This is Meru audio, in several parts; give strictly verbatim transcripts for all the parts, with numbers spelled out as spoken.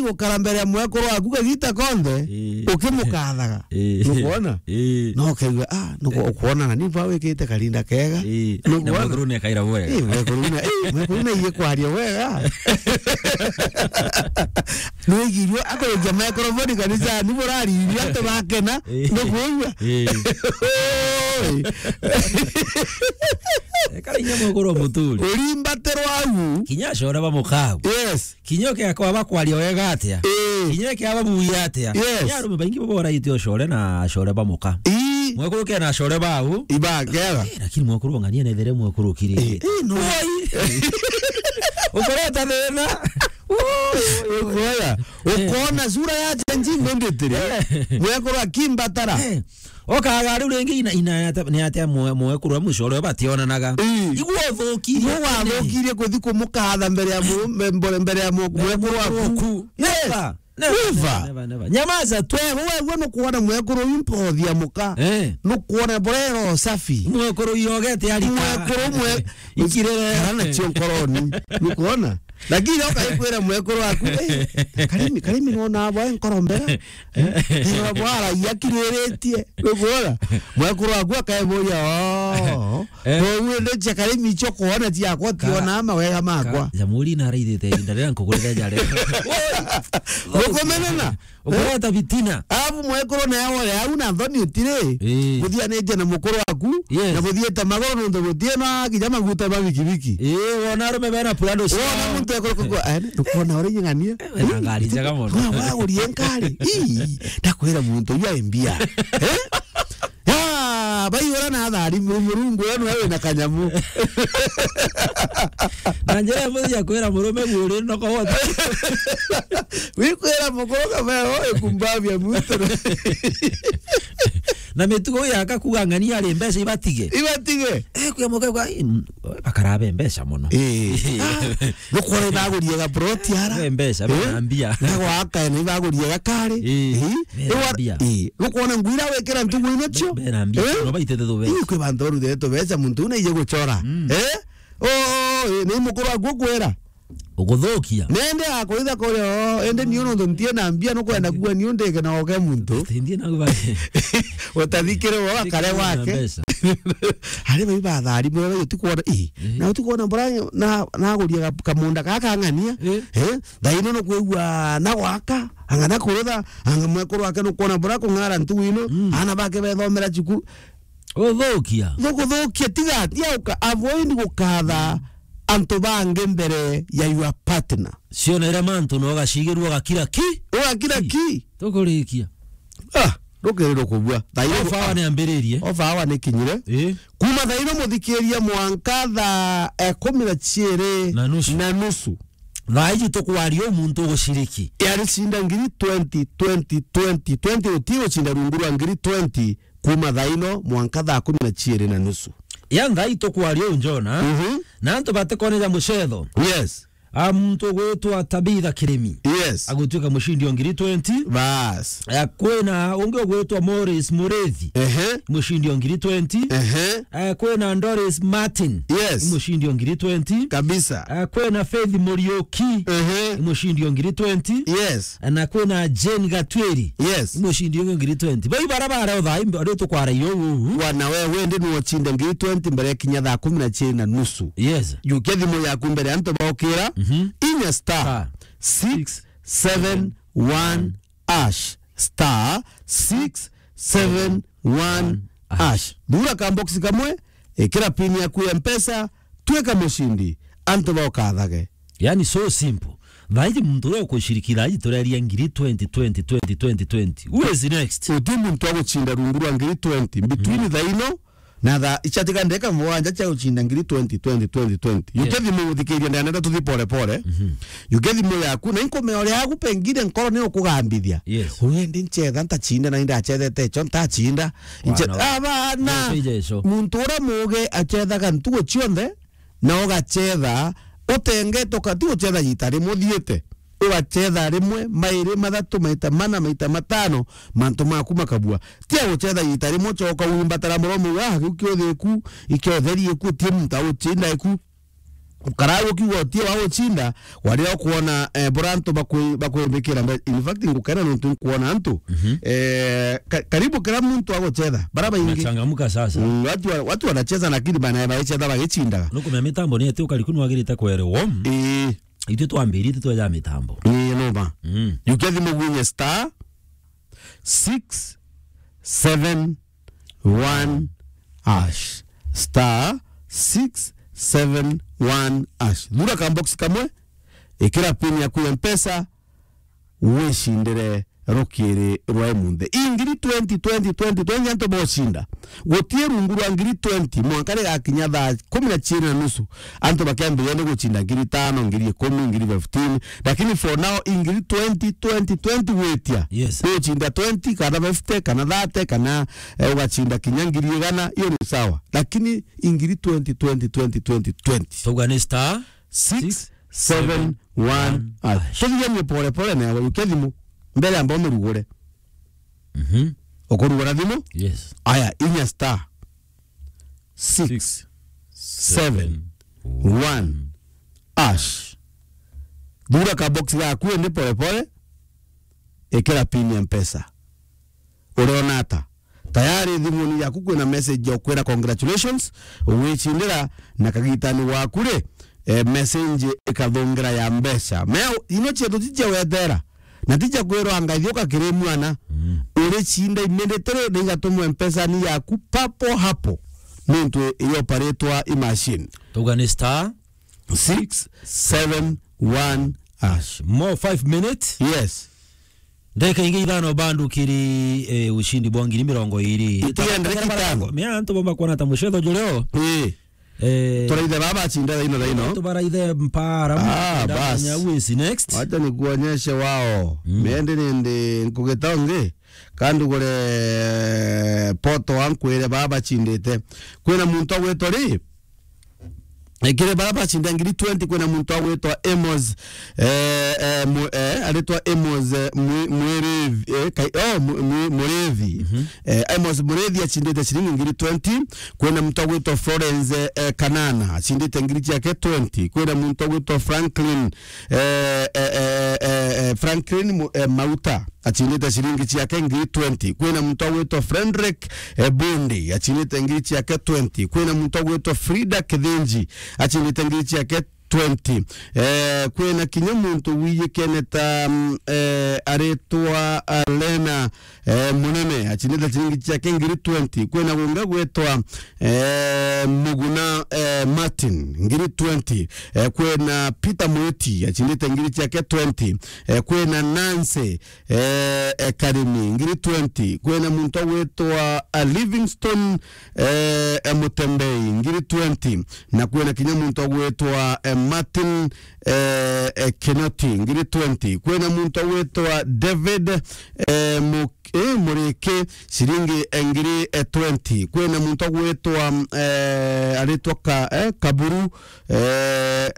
ukara mbere ya mwekuru waku kagita konthe, Ii. ukimukathaga. Ii. Nukwona? Ii. No ukaigua, ah, nuku-, Ii. ukwona na ni bwa wikite karinda kega. Ii. Nukwona? Na mwekuru ni akaira bwega. Ii, mwekuru na, ii, mwekuru na iye kwaria wega. Nwigirwe akurukia microphone kanisa, ni burariria antu bakena, Ii. nukwigua? Ii. Oi. Ekara inya mwekuru muturi. Urimbatirwa au. Kinya acore ba mukagu. Yes. Kinya uke akwa bakwaria wega atia. Ii. Kinya ke ababuya atia. Yes. Ni arume baingi babo baraite acore na acore ba muka. Ii. Mwekuru ke na acore bau. Ibakega. Eh, lakini mwekuru ng'ania nethere mwekuru kiri. Ii, ii, no. Oi. Ukoreta thina. Ui, ui, ui. Ukoya. Eh. Ukona sura ya Gen Z imbendetire. Eh. Mwekuru akimbatara. Eh. Okaga riu ringi ina, ina ate, ni atia mwe-, mwekuru wa mwisho uria bationanaga. Ii. Igua uthukirie. Igua wathukirie kuthi kumukatha mbere ya mu-, mbe-, mbere, mbere ya mu-, Mbere ya mwekuru waku. Waku. Yes. Never. Never. Never, never, never. Nyamaza tu. Wewe, wewe nukuona mwekuru uyu mpothi ya muka. Eh. Nukuona burero safi. Mwekuru yogete arika. Mwekuru mwe-, Ikirere. Kana cio nkoroni. Nukuona? Lakini ukaikwira mwekuru waku, "Eh, Karimi, Karimi nona abo nkoro mbega." Eh, eh, bwara yakiriritie. Nukuona? Mwekuru waku akaiburia, "Oh, Eh. Koguo indi cia Karimi icio kuona ciakwa, Ka-, tiona mawega makwa." Ka-, Jamhuri naraithite ihinda riria nkugurire jare. Nukumenena? Ukureta bitina. Abu mwekuru nawe au na nthoni utiri. Ii. Muthianite na mukuru waku, Yes. na muthiite maguru nontu gutina kinya maguta ma bikibiki. Ii, wona arume bena Prado ciao. Wona muntu ekuru kugwa, eh, ndukuona uri nying'ania? Wena ngari njega mono. Wa, wagurie ngari. Ii, ndakwira muntu uyu ai mbia. Eh? Ya, baiyura na athari mu-, Murungu we niwe wina kanyamu. Na njira imwe ya kwira murume guuri noko wote. Wikwira mukuru kama we, oi kumbabia muntu. Na mitugo yaka kuga ng'ania ari mbeca ibatige. Ibatige. Eh, kuya muka kwa, mm, bakarabe mbeca mono. Eh. Ah, nukwona ibagurie ga plot ara. We mbeca, Eh? bena mbia. Na gwaka na ibagurie ga kari. Eh, Eh? bena Iwa-, mbia. Eh. Nukwona ngwira wikira ntugu ino cio? Be-, bena mbia. Eh? No baitete tu beca. Ii, kwi bantu baruthire tu beca muntu una ije guchora. Mm. Eh? Oh, eh, ni mukuru waku ukwira. Uguthukia. Nende akwitha kuri, oh, ende niu nontu ntie na mbia nukwenda kuga niu ndike na oke muntu. Tindie na kuba. Utathikire wo akare Ndikire na gwake. mbeca. Ari bai bathari mwe bai utikuona, ii, Eh. na utikuona bura na, naguria ka-, kamunda gaka ng'ania. Eh. Eh, thaino nukwigua na gwaka, anga na kurutha, anga mwekuru wake nukwona bura kung'ara ntugu ino, Mm. ana bake bethomera cukuru. Uthukia. Nukuthukia, tiga, tiga uka-, avoid gukatha antu bangi mbere ya your partner. Cionere mantu na ugacigirua ugakira ki? Ugakira ki? Tukurikia. Ah, rukiri rukubua. Thaino Ofa awa ni ambiririe. Ofa awa ni kinyire. Ii. Kuma thaino muthikiria mwanka thaa, eh, kumi na ciiri Na nusu. na nusu. Thaa iji tukwaria u muntu uguciriki. Yari cinda ngiri twenty, twenty, twenty, twenty, uti ucinda rungu rwa ngiri twenty. Kuma thaa ino mwanka thaa kumi na ciiri na nusu. Ya thaa ii tukwaria uu, Jona, Mhm. na antu batikone ja mucetho. Yes. A muntu ugwitwa Tabitha Kirimi. Yes. Agutwika mucindi o ngiri twenty. Bas. Eh, kwina ungi ugwitwa Morris Murithi. Ehe. Mucindi o ngiri twenty. Ehe. Eh, kwina Doris Martin. Yes. Mucindi o ngiri twenty. Kabisa. Eh, kwina Faith Muriuki. Ehe. Mucindi o ngiri twenty. Yes. Na kwina Jane Gatwiri. Yes. Mucindi ungi ngiri twenty. Bai bara bare o thaa imbe, ari tukwara iyo uu. Wana we, wendi nuocinde ngiri twenty mbere ya kinya thaa kumi na ciiri na nusu. Yes. Jukia thimu yaku mbere antu baukira. Mhm. Inya star Star six seven one hash. Star six seven one hash. Thura ka box kamwe, ikira pin yaku ya Mpesa, twika mucindi, antu baukathage. Yani, so simple. Thaiji muntu uria ukuciriki thaiji tureria ngiri twenty, twenty, twenty, twenty, twenty. Who is next? Uti muntu agucinda rungu rwa ngiri twenty. Between Mm. thaino na thaa ichatika ndeka mugwanja cia gucinda ngiri twenty, twenty, twenty, twenty. Yes. Yuke thimu guthikiria, ndanenda tuthi pole pole. Mhm. Yuke thimu yaku, na inkumea uria yaku pengine nkoro ni ukugambithia. Yes. Uyu ndi nchetha ntacinda, na indacethete icho ntacinda. Nche-, Wana wa-, abana. Ndio, Jesu. Muntu uria muge achethaga ntugu cionthe, na ugachetha, utengete, ukati guchetha giita rimwe uthiite. Ugachetha rimwe, mairi, mathatu, maita mana, maita matano, mantu maku makabua. Ti a guchetha giita rimwe, ucoka wimbatara muromo, ah, kiu kiuthi iku, ikiotheri iku, ti muntu agucinda iku. Ukara ukiuga utie wa gucinda, waria ukuona, eh, bora antu bakwi-, bakwibikira mbe-, in fact, ngukena nontu nkuona antu. Mhm. Eh, ka-, karibu kira muntu agucetha. Bara baingi. Unachangamka sasa. Mm, watu wa-, watu wanacheza lakini bana baicheza bagicindaga. Nukumenya mitambo ni ati ukariku nwagirite kwerwo. Ii. Itwe twambiri itwe tweja mitambo. Ii, numa. Mm. Yukia thimu gwinye star six seven one hash. Star six seven one hash. Thura ka box kamwe, ikira pin yaku ya Mpesa, wicindire rukiri rwa imunthi. Ingiri twenty, twenty, twenty, twenty antu bocinda. Gutie rungu rwa ngiri twenty, mwanka rigakinya thaa kumi na ciiri na nusu, antu bakiambiria ni gucinda ngiri tano, ngiri ikumi, ngiri fifteen. Lakini for now, ingiri twenty, twenty, twenty gwitia. Yes. Ucinda twenty, kana fifty, kana thirty, kana, eh, ugacinda kinya ngiri igana, iyo ni sawa. Lakini ingiri twenty, twenty, twenty, twenty, twenty. Tauga ni star six seven one hash. Tuthiganie pole pole na yukia thimu. Mbere amba umirugure. Mhm. Ukurugura thimu? Yes. Aya, inya star six seven one hash. Thura ka box gaku indi pole pole. Ikira pin ya Mpesa. Uriona ata? Tayari thimuni yaku kwina message ya ukwira congratulations, ugwicindira na kagitani waku ri, eh, message ikathungira ya mbeca. Mea, ino cietu ti cia wetera, na ti cia kwirwa anga ithiuka kiri mwana. Mm. Uricinda immediately, na igatumwa Mpesa-ini yaku papo hapo. Nontu ioparitwa i machine. Tauga ni star six seven one hash. More five minutes. Yes. Ndeka ingi ithano bandukiri, eh, ushindi bwa ngiri mirongo iri. Itiga ndeka itano. Mea antu bomba kuona ta mucetho jureo. Ii. Eh. Turaithe baba acinde thaino thaino. Tubaraithe mpara. Ah, bas. Wisi next. Wacha nikuonyeshe wao. Mm. Mende nende nkugitongi. Kandugure poto ankwire baba acindite. Kwina muntu agwitwa ri? Eh, kiri bara bacinda ngiri twenty, kwina muntu agwitwa Amos, eh, eh, mu-, eh, aritwa Amos, eh, Mwi-, Mwirethi, eh, kai-, oh, Mwi-, Mwi-, Murethi. Mhm. Eh, Amos Murethi acindite ciringi ngiri twenty. Kwina muntu agwitwa Florence, eh, eh, Kanana, acindite ngiri ciake twenty. Kwina muntu agwitwa Franklin, eh, eh, eh, eh, eh, Franklin Mu-, eh, Mauta, acindite ciringi ciake ngiri twenty. Kwina muntu agwitwa Frederick, eh, Bundi, acindite ngiri ciake twenty. Kwina muntu agwitwa Frida Kithinji, acindite ngiri ciake twenty. Eh, kwina kinya muntu wiyikene ta, mm, eh, aritwa, ah, Lena, eh, Munene, acindite ciringi ciake ngiri twenty. Kwina gungi gwitwa, eh, Muguna, eh, Martin, ngiri twenty. Eh, kwina Peter Mwiti, acindite ngiri ciake twenty. Eh, kwina Nancy, eh, eh, Karimi, ngiri twenty. Kwina muntu agwitwa, ah, Livingstone, eh, eh, Mutembei, ngiri twenty. Na kwina kinya muntu agwitwa, eh, Martin, eh, eh, Kinoti, ngiri twenty. Kwina muntu agwitwa David, eh, Mu-, eh, Muriki, ciringi, eh, ngiri, eh, twenty. Kwina muntu agwitwa, eh, aritwa ka-, eh, Kaburu, eh,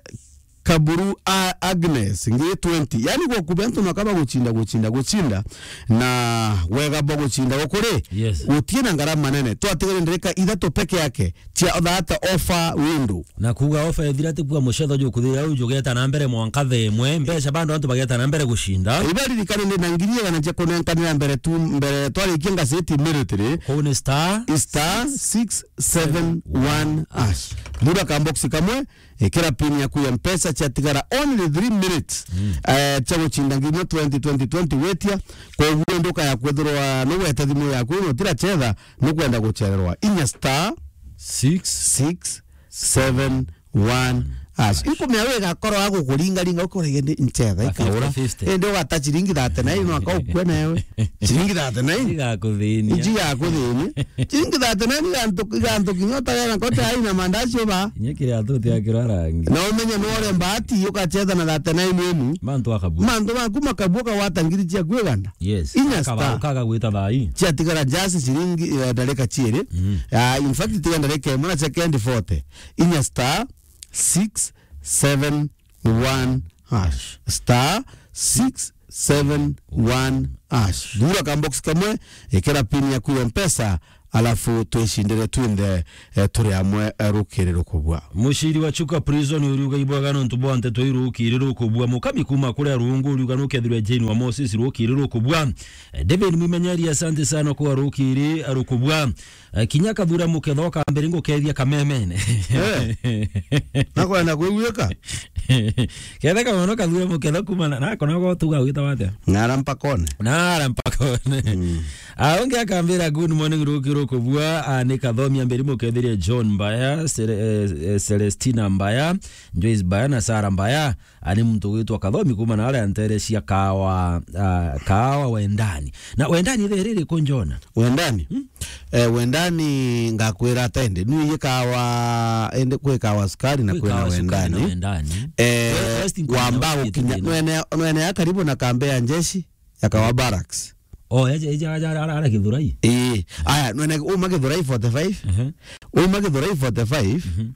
Kaburu a-, Agnes, ngiri twenty. Yani, gwaku be antu naka bagucinda, gucinda, gucinda, na wega bwa gucinda gukuri, yes, gutie na ngarama nene. Twatigire ndereka ithatu peke yake cia that offer window. Na kuuga offer ethira ti kuuga mucetho jukuthira u jugeta na mbere mwanka themwe, mbeca bado antu bageta na mbere gucinda. Ibaririkane ndi na ngiri igana cia kunenkanira mbere tu, mbere twarikia ngaceti immediately. Kuu ni star, star six seven one hash. Thura ka box kamwe, ikira pin yaku ya Mpesa, ciatigara only three minutes, mm, eh, cia gucinda nginya twenty, twenty, twenty wetia. Koguo nduka ya kwethirwa nugwete thimu yaku ino tira chetha, nukwenda guchererwa. Inya star six six seven one hash. Ikumia we gakorwo agukuringaringa, ukurege ndi nchetha ikaura. Fifty fifty. Indi ugata ciringi thirty-nine, no aka ukue nawe. Ciringi thirty-nine? Igakuthinia. Iji igakuthinia. Ciringi thirty-nine igantu, igantu kinya utagera kote aina mandazi uba. Kinya kiriatu utiakirwa rangi. Na umenye no ore mbati, ukachetha na thirty-nine emu. Mantu akabua. Mantu maku makabua, kawata ngiri ciaku igana. Yes. Inya star. Akaba-, ukaga gwita thai. Ciatigara just ciringi, eh, ndarika ciiri. Mm. Ah, in fact, tiga ndarika imwe na second forty. Inya star six seven one hash. Star six seven one hash. Thura ka box kamwe, ikira pin yaku ya Mpesa, alafu twicindire twinthe, eh, turi amwe, eh, rukiri rukubua. Muciri wa Chuka Prison uriuga ibwega nontu bwa nteto iu rukiri rukubua. Mukami kuma kuria Rungu uriuga nukethirwe Jane wa Moses rukiri rukubua. Eh, David Mwimenyeri, asante sana kwa rukiri rukubua. Eh, kinya kathura muketho kambere ngukethia kamemene. Eh. Nakwenda kwiguika? Kethe kamono kathura muketho kuma na, na kona go tuga wita watia? Nara mpakone. Nara mpakone. Mm. Ah, ungi akambira, "Good morning, ruki rukubua." Ah, ni Kathomi ambiri mukethiria John Mbaya, Cele-, eh, eh, Celestina Mbaya, Joyce Mbaya na Sarah Mbaya. Ani muntu gwitwa Kathomi kuma na aria ntere cia Kawa, ah, Kawa Wendani. Na Wendani ithe riri ku Njona? Wendani? Hmm? Eh, Wendani ngakwira atende. Nu iye Kawa, ende kwi Kawa Sukari na kwi kwina Kawa Sukari na Wendani. Wendani. Eh, first in wamba Kawa gukinya, Sukari. Nwene, nwene ya karibu na kambe ya njeshi ya Kawa Barracks. Oh, eja, eja, eja, ara, ara Githurai? Ii. Aya, nwene uma Githurai forty-five. Ehe. Uma Githurai forty-five. Mhm.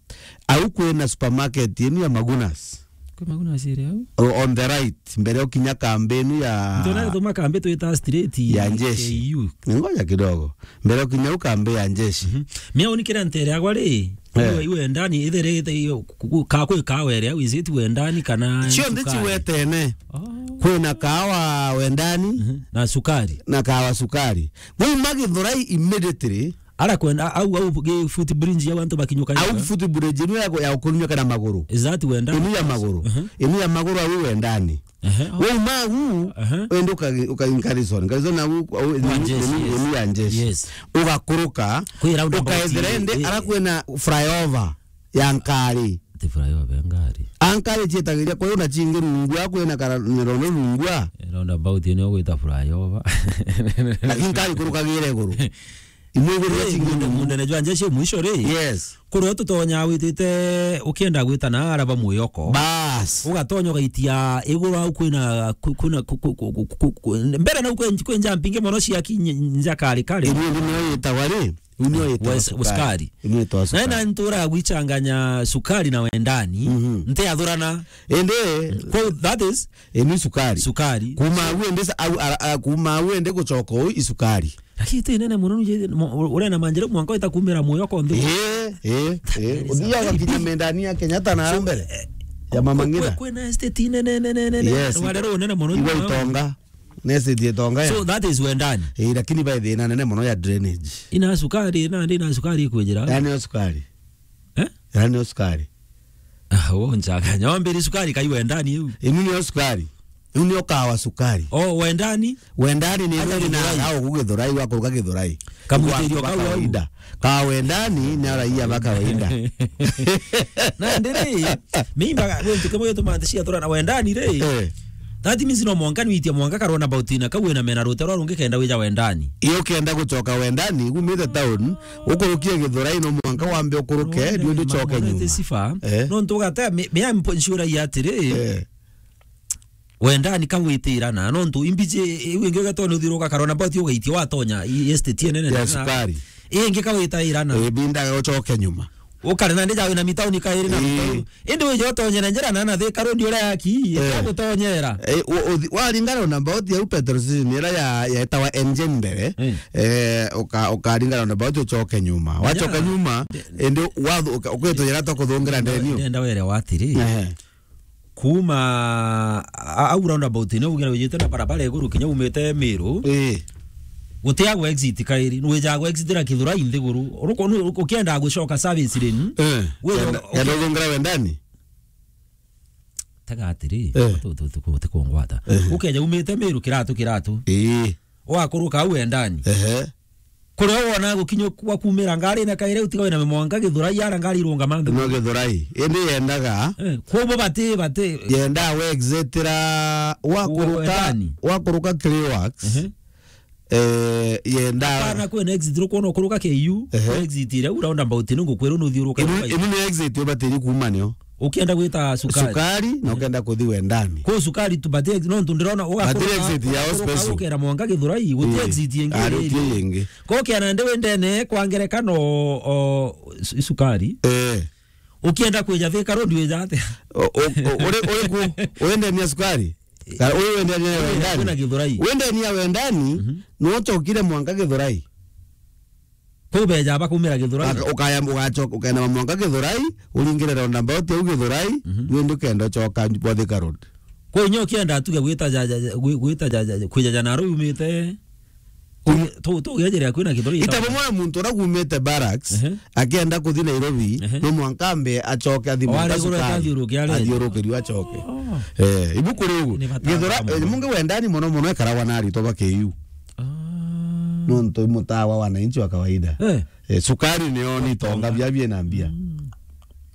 Au kwina supermarket yenu ya Magunas. Kwi Magunas iri au? O-, on the right, mbere ukinya kambi inu ya Ntona tuma kambi twita straight ya njeshi. K U. Ngoja kidogo. Mbere ukinya u kambi ya njeshi. Mhm. Mia unikira ntere agwa ri, eh, iwe, iwe ndani, ithere ite iyo, ku-, ku-, ka kwi kawa iri au, is it Wendani kana Cionthe Sukari? Ciwetene. Oh. Kwina kawa Wendani. Mhm. Na Sukari. Na kawa Sukari. Wauma Githurai immediately, Ara kwenda, au, au, gi footbridge ya antu bakinyuka au nyoka? Footbridge inu ya, ya ukunyuka na maguru. Is that Wendani? Inu ya maguru. Uh-huh. Inu ya maguru au Wendani. Uh-huh. Wauma au, uh-huh, wende uka, uka in Garrison. Garrison au, au, inu, Njeshi, inu, yes, inu ya njeshi. Yes. Ugakuruka, kwina roundabout ukaethera iri, indi, iri, ara kwina flyover ya ngari. Ti flyover ya ngari. A ngari cietagiria, kwa hiyo na cingi rungua, kwina kara, ni rondo rungua. Eh, roundabout ino gwita flyover. Lakini ngari kurukagire iguru. Imwe iguru ya, eh, cingi munde, rungu. Mundene jwa njeshi mwisho ri. Yes. Kuria tutonya witite ukienda gwita na araba mwiyoko. Bas. Ugatonya ugaitia iguru au kwina, ku-, kuna, ku-, ku-, mbere na kwe, kwe nja mpinge mono cia ki-, nja kari kari. Imwe ndio yetagwa ri. Inu yetwa Wes-, Sukari. Sukari. Inu yetwa Sukari. Na ina ntura gwichanganya Sukari na Wendani. Mhm. Nte athurana. Ende. Kwa that is Inu Sukari. Sukari. Kuma au ende sa-, au, a, a, kuma au ende gucoka uu i Sukari. Lakini ti nene mono nuje, mo-, u-, urena manjere mwanka wita kumira mwiyoko nthi. Eh, eh, eh. That is a big. Uthia ugakinya Mendani ya Kenyatta na mbere. So, eh, ya Mama Ngina. Kwe-, kwina estate nene, nene, nene. Yes. Rware runene mono. Iwe Itonga. Nesi thiä tonga ya. So that is Wendani. Eh, lakini bai thina nene mono ya drainage. Ina Sukari, na ndi na Sukari ikwijira. Yani o Sukari. Eh? Yani o Sukari. Ah, wo nchanganya. Wambiri Sukari kai Wendani iu. Inu ni o Sukari. Inu ni o kawa Sukari. Oh, Wendani? Wendani ni aja inu ni Githurai. Na au ku Githurai, wa kuruka Githurai. Kamwitirio kau au. Kawaida. Ka Wendani ni araia ba kawaida. Na ndiri, mimba guntu kimwe gituma nthi ciathurana Wendani ri. Eh. That means no mwanka nwitie mwanka karona about ina kau ina mena rute rwa rungi kenda wija Wendani. Iyo kenda gucoka Wendani, gumite town, ukurukie Githurai no mwanka wambe ukuruke, ndio ndio coke nyuma. Eh. No ntu ugate, me, me ampo ncura ya atiri. Eh. Wendani kagwitira na, nontu imbiji iu ingi ugatona uthiruka karona about ugaitia watonya i estate enene ya na Sukari. Ingi kawitaira na. Eh, binda ucoke nyuma. Ukare na ndija wina mitauni kairi na. Eh. Mitauni. Indi wija utonye na njira na na Thika Road uria yaki, eh, gutonyera. Eh, u-, uthi-, waringana na about ya petrol station ira ya, ya etawa engine mbere, eh, eh, uka-, ukaringana na about ucoke nyuma. Wacoka nyuma, indi wathu-, uka-, ukwitonyera to kuthungira ndeni u. Ndenda were watiri. Ehe. Kuma a-, au roundabout ino ugira wijite na barabara iguru kinya umite Miru. Ii. Gutia gwa exit kairi, nwijaga gwa exit ra Kithurai nthiguru. Uruko-, nu-, ukienda gucoka service lane. Eh. Wira kenda, u-, kenda uthungira Wendani? Tega atiri, eh, tu-, tu-, tu-, tu-, tukungwata. Eh. Ukeja umite Miru kiratu kiratu. Ii. Wakuruka au Wendani. Ehe. Kuria wona gukinya gwa kumira ngari na kaire utiga wina mwanka Githurai ara ngari irungama nthu. No Githurai. Indi yendaga. Eh, kwobo bati, bati. Yenda we exit ra wakuruka, Wendani. Wakuruka Clearworks. Ehe. Eh, yenda. Kana kwina exit rukwona ukuruka K U, ehe, exit iria u roundabout ni ngukwira nuthiuruka. Inu, inu ni exit ubatiri kuma nio. Ukienda gwita Sukari. Sukari, na ukienda kuthi Wendani. Ku Sukari tu, but no ntu ndirona ugakora exit ya special. Ukera mwanka Githurai, guti exit ingi. Ari ti ingi. Ko kiana ndi wendene kwa ngerekano o, o, Su-, Sukari. Eh. Ukienda kwija Thika Road wija atia? O, o, o, uri, uri ku? Wendania Sukari? Ka, uri wendania Wendani? Kwina Githurai. Wendania Wendani, mhm, no chokire mwanka Githurai. Kuu beja bakumira Githurai. Aka-, ukaya, ugacoka, ukaenda mwanka Githurai, uringire roundabout au Githurai, Mhm. rwendi ukenda ucoka bwa Thika Road. Kwa inyo ukienda tuge gwita ja, ja, ja, gwi-, gwita ja, ja, kwija ja Nairobi umite, Uri-, tu, tu, ugejeria kwina Githurai. Ita bumwe na muntu uria umite barracks, Ehe. akienda kuthi Nairobi, Ehe. no mwanka ambe acoke athi Mombasa Wari iguru sukari, athiuruke arenda. athiurukirio acoke. Oh. Eh, ibu kuri ugu. Ni bata Githura-, bwa eh, mungi wendani mono mono ekaragwa na aritwa ba K U. Ah. Nontu i mutawa wananchi wa kawaida. Eh. Eh, sukari nio ni tonga bia bie na mbia. Mm.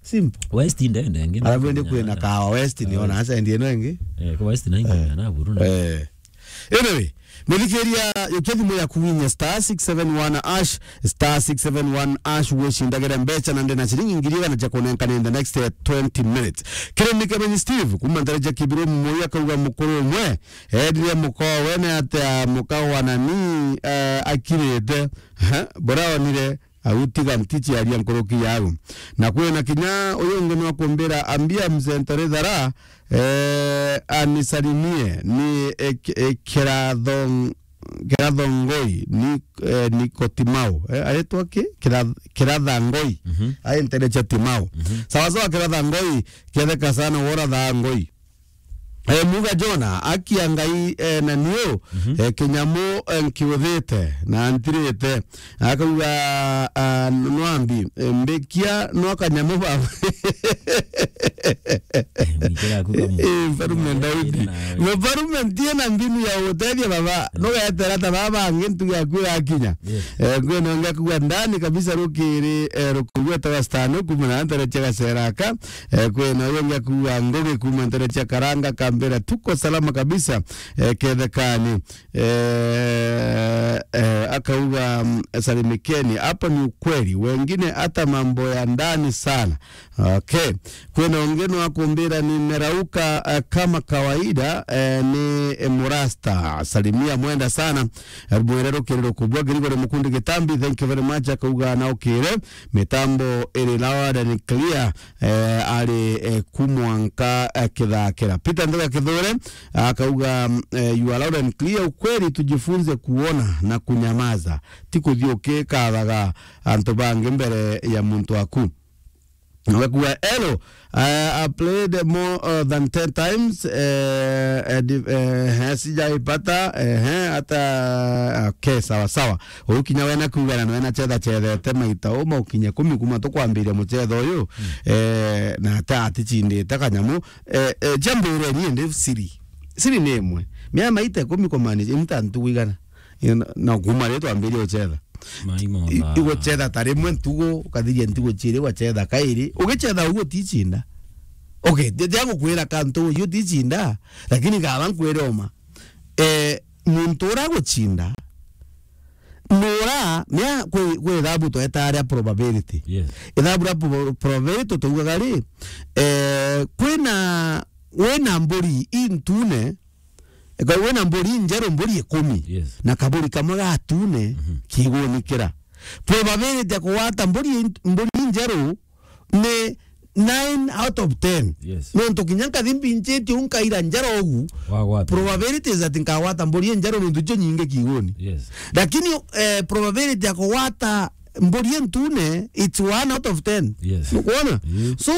Simple. West ndende ngi. Alafu ende kwina kawa West ni ona acha ndi eno engi. Eh, kwa West na ingi Eh. na buru na. Eh. Anyway, muthikiria, yukia thimu yaku winye star six seven one hash, star six seven one hash, wicindagire mbeca na ndena ciringi ngiri igana cia kunenkana in the next, eh, twenty minutes. Kirimi Kemenyi Steve, kuma ntere cia Kibiru Moi akauga mukuru umwe, Eedire mukowe ni atia muka wa nani, eh, akirite? Ha? Buraonire, au tiga ntichiaria nkuruki yau. Na kwina kinya uyu ungi nwa kumbira, ambia mzee Ntorithara, eh, anisalimie, ni, eh, ki-, eh, kirathong-, kirathongoi, ni, eh, Nikotimau. Eh, aretwa ki? Kira-, kirathangoi. Mhm. Ai ntere cha Timau. Mhm. Sawa sawa, kirathangoi, ketheka sana wora thangoi. Eh, muga Jona, akia Ngai, eh, na niu, Mhm. eh, kinyamu, eh, nkiuthite na ntirite. Akauga, ah, nwambi, eh, mbikia nwa kanyamu baba. Eh, mwikira aku kamu. Eh, mfarume Daudi. Nawe. Mfarume ntie na mbinu ya utethia baba. Nugetera ta baba angi ntuge aku gakinya. Yes. Eh, ngwene onge akauga ndani kabisa rukiri, eh, rukugweta wastani kuma na ntere cia gaceraka. Eh, kwina uyu ungi akuuga, Ngugi kuma ntere cia Karanga, Kambira, tuko salama kabisa, eh, kethekani. Eh, eh, akauga, mm, salimikeni, hapo ni ukweli, wengine hata mambo ya ndani sana. Okay. Kwina ungi nwa kumbira, nimerauka, eh, kama kawaida, eh, ni, eh, Murasta. Salimia mwenda sana, eh, mwere rukiri rukubwa, Gregory Mukundi Gitambi, thank you very much, akauga na ukire, mitambo iri loud and clear. Eh, ari, eh, ku mwanka, eh, Kithakira. Peter Ndega Kithure akauga, mm, eh, you are loud and clear, ukweli tujifunze kuona na kunyamaza, ti kuthi ukikathaga antu bangi mbere ya muntu waku. Agakua, hello, eh, I played more, uh, than ten times, eh, eh, di-, eh, eh, sijaipata, eh, eh, hata, okay, sawa sawa. Uyu kinya we na kuuga na nwe na chetha chethete maita uma ukinye kumi kuma tukwambiria muchetho uyu, Mm. eh, na ata atichindite kanyamu, eh, eh, jambire ni ndi siri. Siri ni imwe. Mia maita ikumi kumaanisha ni ta ntugu igana. Ina, na kuma ri twambirie uchetha. Mai I-, mona. Iguchetha ta rimwe ntugu, ukathiria ntugu chiiri, ugachetha kairi. Ugichetha uguo utichinda. Okay, ndi-, ndia gukwira kantu uyu utichinda, lakini gaba nkwire uma. Eh, muntu uria aguchinda, nura, mea kwi, kwi ithabu twetaga ria probability. Yes. Ithabu ria prob-, probability tuugaga ri, eh, kwina, wina mburi intune, eka wina mburi njeru, mburi ikumi, Yes. na kaburi kamwe gatune, Mhm. kigunikira. Probability ya kugwata mburi int-, mburi njeru ni nine out of ten. Yes. Nontu kinya nkathi mbinchitie u nkaira njara ugu, Wagwata. Probability is that nkagwata mburi injeru nontu icio nyingi kiuguni. Yes. Lakini, eh, probability ya kugwata mburi intune, it's one out of ten. Yes. Nukwona? Yes. So,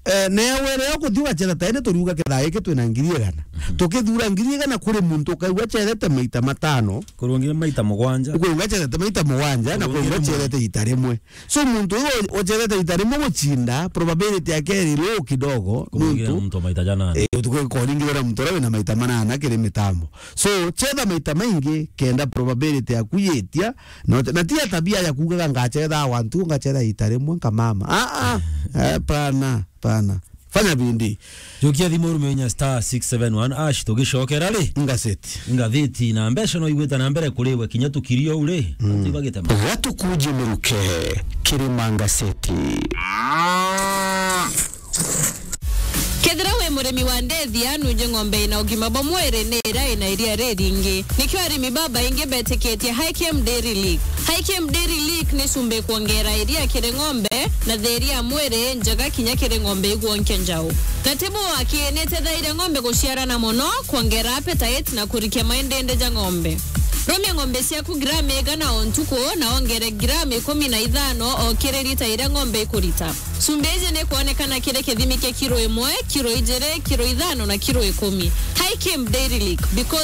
eh, newe rero kuthi ugacetha ta ene turiuga kethaa giki twina ngiri igana. Mhm. Tukithura ngiri igana kuri muntu ukaigua acethete maita matano. Kurungire maita mugwanja. Ukaigua acethete maita mugwanja, na Kurungire kuigua mwe- acethete ita rimwe. So, muntu uyu ucethete ita rimwe guchinda, probability yake iri low kidogo, Kurungire nontu, muntu maita janana. Eh, utukwika uringirira muntu uria wina maita manana kiri mitambo. So, chetha maita maingi, kenda probability yaku yitia, na, na ti ya tabia ya kuugaga ngachetha wantu, ngachetha ita rimwe, nkamama. Ah, ah, eh, pana, pana. Fanya bindi. Jukia thimu urume inya star six seven one hash, tugicokera ri? Ngatheti. Ngatheti na mbeca no igwita na mbere kuriwe kinya tukirio uri. Mm. Anti bagitema. Gatukuje miruke, Kirima Ngatheti. Kethira wi murimi wa ndethia, nunje ng'ombe ina ugima bwa mwiri ni iria ina iria riringi. Nikio arimi babaingi betikitie Hikem Dairy Lick. Hikem Dairy Lick ni cumbi kwongera iria kiri ng'ombe na thiria ya mwiri njega kinya kiri ng'ombe igwonkia njau. Na tibu waki ni itethairia ng'ombe guciarana mono, kwongera appetite na kurikia maindindi ja ng'ombe. Rumia ng'ombe ciaku gramu igana o ntuku, na wongere gramu ikumi na ithano o kiri lita iria ng'ombe ikurita. Cumbi iji ni ikwonekana kiri kithimi kia kiro imwe, kiro ijiri, kiro ithano na kiro ikumi. Hikim Dairy Lick, because